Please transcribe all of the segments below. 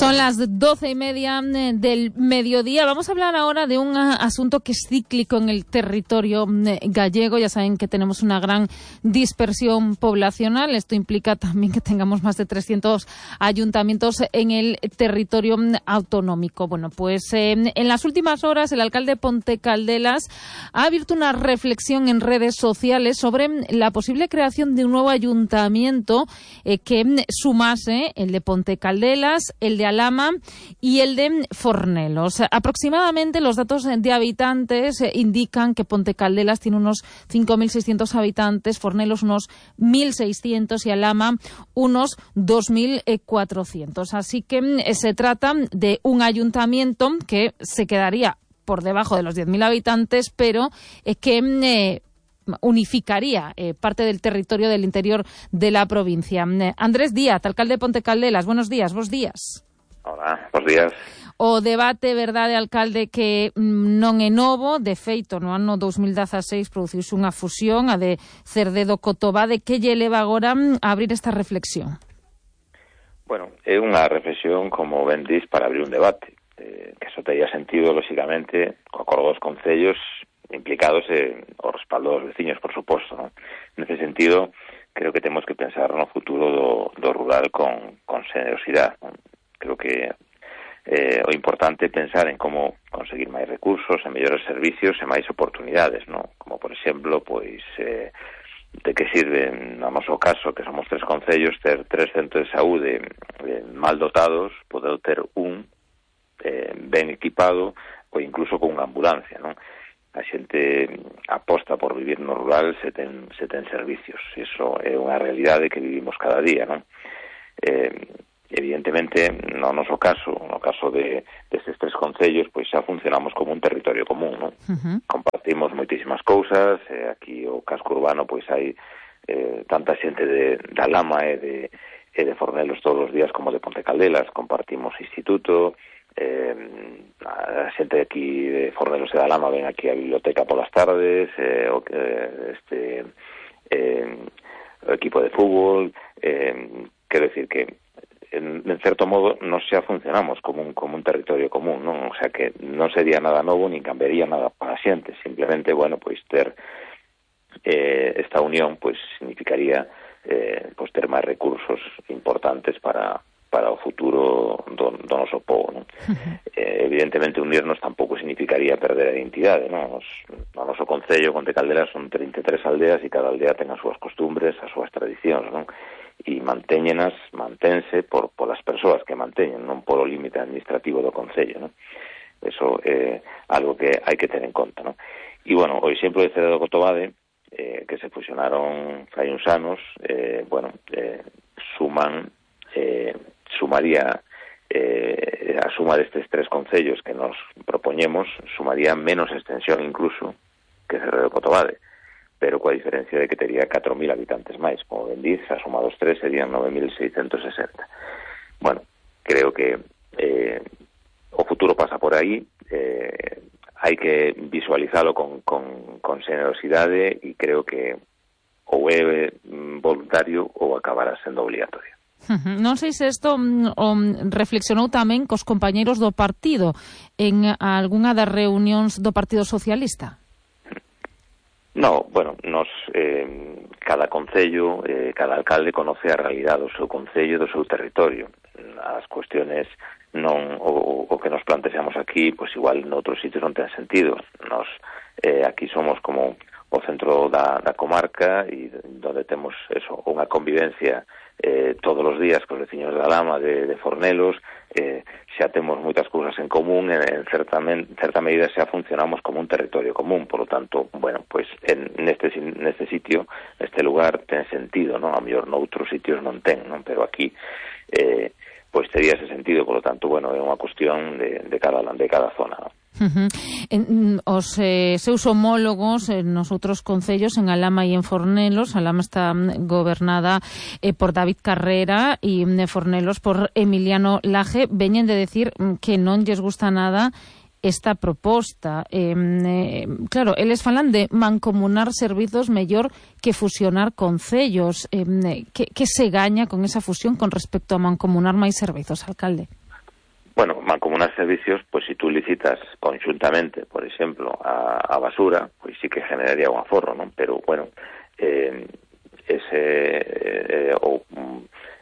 Son las 12:30 del mediodía. Vamos a hablar ahora de un asunto que es cíclico en el territorio gallego. Ya saben que tenemos una gran dispersión poblacional. Esto implica también que tengamos más de 300 ayuntamientos en el territorio autonómico. Bueno, pues en las últimas horas el alcalde de Ponte Caldelas ha abierto una reflexión en redes sociales sobre la posible creación de un nuevo ayuntamiento que sumase el de Ponte Caldelas, el de Alhama y el de Fornelos. Aproximadamente los datos de habitantes indican que Ponte Caldelas tiene unos 5.600 habitantes, Fornelos unos 1.600 y Alhama unos 2.400. Así que se trata de un ayuntamiento que se quedaría por debajo de los 10.000 habitantes, pero que unificaría parte del territorio del interior de la provincia. Andrés Díaz, alcalde de Ponte Caldelas, buenos días, bos días. Hola, bos días. O debate, verdade, alcalde, que non é novo. De feito, no ano 2016 produciuse unha fusión, a de Cerdedo-Cotobade. Que lle leva agora a abrir esta reflexión? Bueno, é unha reflexión, como ben dis, para abrir un debate, que só tería sentido, lóxicamente, co acordo dos concellos implicados o respaldo dos veciños, por suposto, ¿no? Nese sentido, creo que temos que pensar no futuro do rural con generosidade, ¿no? Creo que o importante é pensar en como conseguir máis recursos, en mellores servicios e máis oportunidades, ¿no? Como, por exemplo, pois de que sirve, no noso caso, que somos 3 concellos, ter 3 centros de saúde mal dotados, poder ter un ben equipado ou incluso con unha ambulancia, ¿no? A xente aposta por vivir no rural se ten servicios. Iso é unha realidade que vivimos cada día, non? Evidentemente, no noso caso, no caso destes 3 concellos, pois xa funcionamos como un territorio común, non? Compartimos moitísimas cousas, aquí o casco urbano pois hai tanta xente de Alhama e de Fornelos todos os días como de Ponte Caldelas, compartimos instituto, a xente de aquí de Fornelos e de Alhama ven aquí a biblioteca polas tardes, o equipo de fútbol, quero decir que en certo modo nos xa funcionamos como un territorio común, non? O sea que non sería nada novo nin cambiaría nada para a xente, simplemente, bueno, pois ter esta unión pois significaría pois ter máis recursos importantes para o futuro do noso povo, non? Evidentemente unirnos tampouco significaría perder a identidade, non? No noso concello, Ponte Caldelas, son 33 aldeas e cada aldea ten as súas costumbres, as súas tradicións, non? E mantense polas persoas que manteñen, non polo límite administrativo do concello, non? Eso é algo que hai que ter en conta, non? E, bueno, o exemplo de Cerdedo-Cotobade, que se fusionaron fai uns anos, sumaría a suma destes 3 concellos que nos propoñemos, sumaría menos extensión incluso que Cerdedo-Cotobade, pero coa diferencia de que tería 4.000 habitantes máis, como ben diz, a suma dos 3 serían 9.660. Bueno, creo que o futuro pasa por aí, hai que visualizalo con generosidade e creo que ou é voluntario ou acabará sendo obligatorio. Non sei se isto reflexionou tamén cos compañeiros do partido en algunha das reunións do Partido Socialista. No, bueno, cada concello, cada alcalde conoce a realidade do seu concello, do seu territorio. As cuestiones o que nos plantexamos aquí, pois igual noutros sitios non ten sentido. Nos aquí somos como o centro da comarca e onde temos eso, unha convivencia todos os días cos veciños de Alhama, de Fornelos, xa temos moitas cousas en común, en certa medida xa funcionamos como un territorio común, por lo tanto, bueno, pois neste sitio, neste lugar ten sentido, non? A mellor noutros sitios non ten, non? Pero aquí pois tería ese sentido, por lo tanto, bueno, é unha cuestión de cada zona, non? Os seus homólogos nos outros concellos, en Alhama e en Fornelos, Alhama está gobernada por David Carrera e Fornelos por Emiliano Laje, veñen de decir que non lles gusta nada esta proposta. Claro, eles falan de mancomunar servizos mellor que fusionar concellos. Que se gaña con esa fusión con respecto a mancomunar máis servizos, alcalde? mancomunar servicios, pues si tú licitas conjuntamente, por exemplo, a basura, pois sí que generaría un aforro, non? Pero, bueno,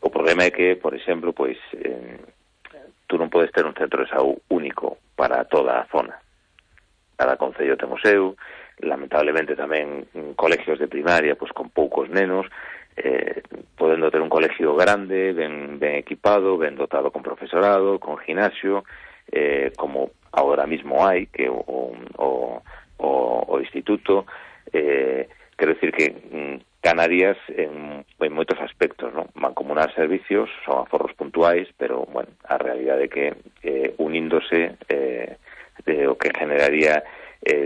o problema é que, por exemplo, pois tú non podes ter un centro de saúde único para toda a zona. Cada concello ten o seu, lamentablemente tamén colegios de primaria pois con poucos nenos, podendo ter un colegio grande, ben equipado, ben dotado con profesorado, con gimnasio, como agora mismo hai, que o instituto, quero dicir que Canarias en moitos aspectos, ¿no? Mancomunar servicios son aforros puntuais, pero, bueno, a realidade é que uníndose o que generaría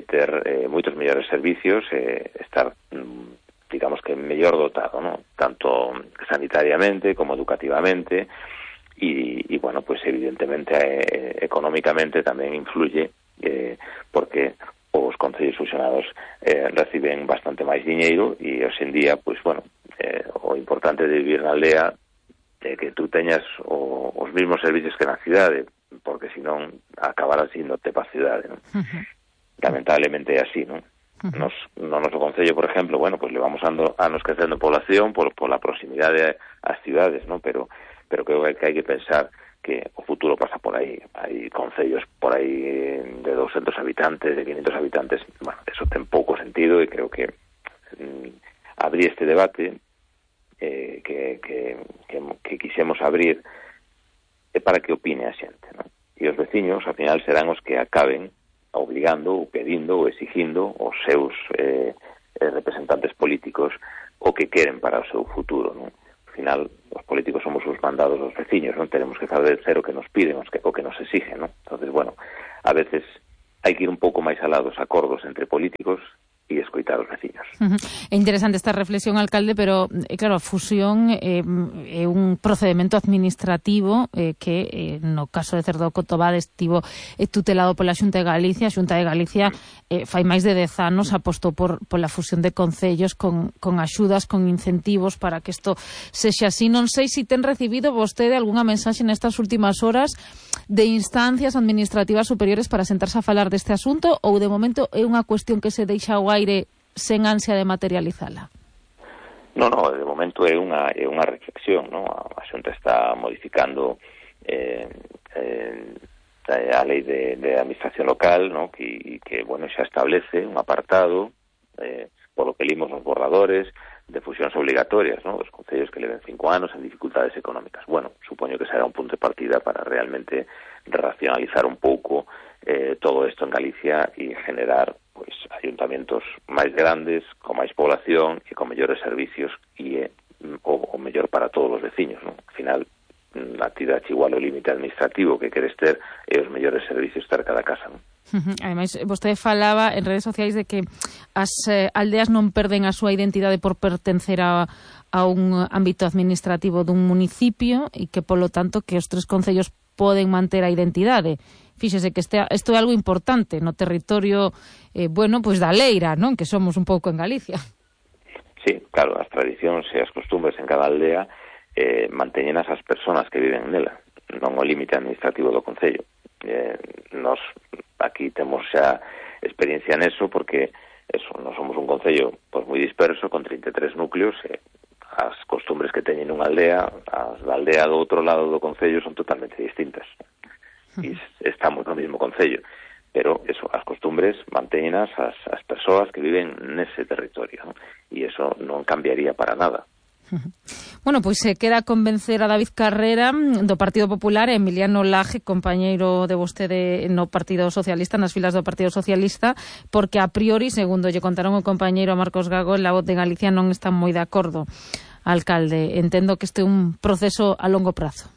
ter moitos mellores servicios, estar digamos que mellor dotado, ¿no? Tanto sanitariamente como educativamente y bueno, pues evidentemente económicamente tamén influye porque os concellos fusionados reciben bastante máis diñeiro e hoxe en día, pues bueno, o importante de vivir na aldea é que tú teñas os mesmos servicios que na cidade, porque senón acabarás indote para a cidade, ¿no? Lamentablemente é así, ¿no? No noso concello, por ejemplo, bueno, pues levamos anos crecendo en población por la proximidade ás cidades, ¿no? Pero creo que hai que pensar que o futuro pasa por aí. Hai concellos por aí de 200 habitantes, de 500 habitantes, bueno, eso ten pouco sentido e creo que abrir este debate que quixemos abrir é para que opine a xente, ¿no? E os veciños, ao final, serán os que acaben obligando, ou pedindo, ou exigindo os seus representantes políticos o que queren para o seu futuro, non? Ao final, os políticos somos os mandados dos veciños, non tenemos que saber o que nos piden, o que nos exigen, non? Entonces, bueno, a veces hai que ir un pouco máis alá dos acordos entre políticos e escoitar os veciños. É interesante esta reflexión, alcalde, pero, claro, a fusión é un procedimento administrativo que, no caso de Cerdo Cotobade, estivo tutelado pola Xunta de Galicia. A Xunta de Galicia fai máis de 10 anos apostou pola fusión de concellos con axudas, con incentivos para que isto sexa así. Non sei se ten recibido vostede algunha mensaxe nestas últimas horas de instancias administrativas superiores para sentarse a falar deste asunto, ou de momento é unha cuestión que se deixa ao aire sen ansia de materializala? No, de momento é unha reflexión, ¿no? A Xunta está modificando a lei de administración local, ¿no? Que bueno, xa establece un apartado polo que limos nos borradores de fusións obligatorias, ¿no? Dos concellos que leven 5 anos en dificultades económicas. Bueno, supoño que será un punto de partida para realmente racionalizar un pouco todo isto en Galicia e generar pois ayuntamentos máis grandes, con máis población e con mellores servicios e o mellor para todos os veciños, ¿no? Al final, a ti dache igual o límite administrativo que queres ter e os mellores servicios ter cada casa, ¿no? Ademais, vostede falaba en redes sociais de que as aldeas non perden a súa identidade por pertencer a un ámbito administrativo dun municipio e que, polo tanto, que os 3 concellos poden manter a identidade. Fíxese que isto é algo importante no territorio, bueno, pois da Leira, non? Que somos un pouco en Galicia. Sí, claro, as tradicións e as costumbres en cada aldea manteñen as persoas que viven nela, non o límite administrativo do concello. Nos aquí temos xa experiencia neso porque nos somos un concello pois moi disperso con 33 núcleos e as costumbres que teñen unha aldea, as da aldea do outro lado do concello son totalmente distintas. E estamos no mesmo concello, pero as costumbres mantéñenas as persoas que viven nese territorio, ¿no? E eso non cambiaría para nada. Bueno, pois se queda convencer a David Carrera do Partido Popular e Emiliano Laje, compañeiro de vostede no Partido Socialista, nas filas do Partido Socialista, porque a priori, segundo lle contaron o compañeiro Marcos Gago, La Voz de Galicia non están moi de acordo. Alcalde, entendo que este é un proceso a longo prazo.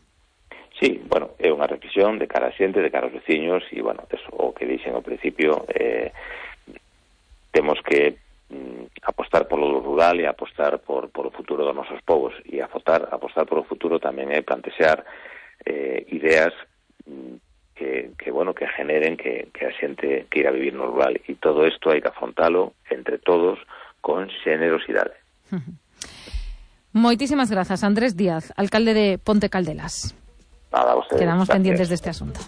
Sí, bueno, é unha reflexión de cara a xente, de cara aos veciños e, bueno, eso, o que dixen ao principio, temos que apostar polo rural e apostar por o futuro dos nosos povos e apostar polo futuro tamén é plantexar ideas que generen que a xente queira vivir no rural e todo isto hai que afrontalo entre todos con xenerosidade. Moitísimas grazas, Andrés Díaz, alcalde de Ponte Caldelas. Nada, a ustedes. Quedamos Gracias. pendientes de este asunto.